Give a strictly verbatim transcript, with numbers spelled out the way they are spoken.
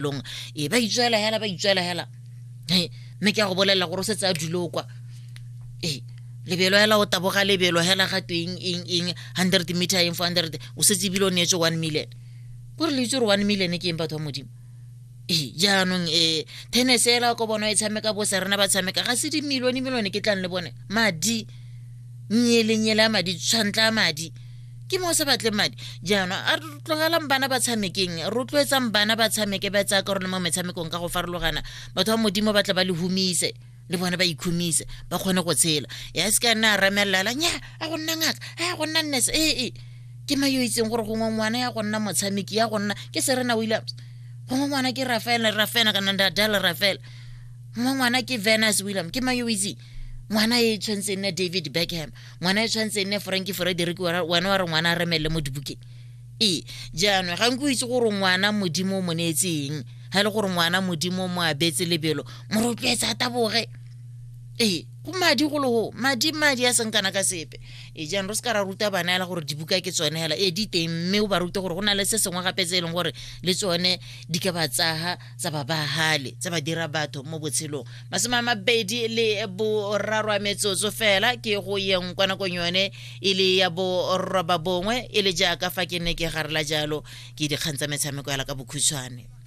Long e ba itswela hela, ba itswela hela. He, mme ke a go bolelela gore o setse a dule o kwa. Ee, lebelo hela, o taboga lebelo hela, ga tweng eng eng, hundred meter eng, four hundred, o setse ebile o neetswe one million. Kore le itse gore one million ke eng, batho ba Modimo? Ee, jaanong um tennis ela ko bona e tshameka, bo Serena ba tshameka, ga se dimilione milione ke tlang le bone madi, nyelenyele a madi, tshwantla a madi, ke mo o sa batleng madi. Jaanong a re tlogelang bana ba tshamekeng, rotloetsang bana ba tshameke, ba tsaya karolo mo metshamekong ka go farologana. Batho ba Modimo ba tla ba le humise, le bone ba ikhumise, ba kgone go tshela. Ya se ka nna a remelela nya a go nna ngaka, a go nna nurse. Ee, ke ma yo itseng gore gongwe ngwana ya go nna motshameki, ya go nna ke Serena Williams, gongwe ngwana ke Rafael, Rafael kana Nadal, Rafael, gongwe ngwana ke Venus William. Ke ma yo itseng ngwana e tshwanetse e nne David Beckham, ngwana e tshwanetse e nne Franki Frederick, wena wa re ngwana a remelele mo dibukeng. Ee, jaanong ga nko itse gore ngwana Modimo o mo neetseng, ga e le gore ngwana Modimo o mo abetse lebelo, mo rotloetsa a taboge. Ee, go madi go le go madi, madi a seng kana ka sepe. Ee, jaanong re se ka ra ruta bana hela gore dibuka ke tsone hela. Ee, di teng, mme o ba rute gore go na le se sengwe gape tse e leng gore le tsone di ka ba tsaga, tsa ba bagale, tsa ba dira batho mo botshelong. Masome a mabedi le boraro a metsotso fela ke go yeng kwa nakong yone e le ya boroba bongwe, e le jaaka fa ke ne ke garela jalo ke dikgang tsa metshameko yala ka bokhutshwane.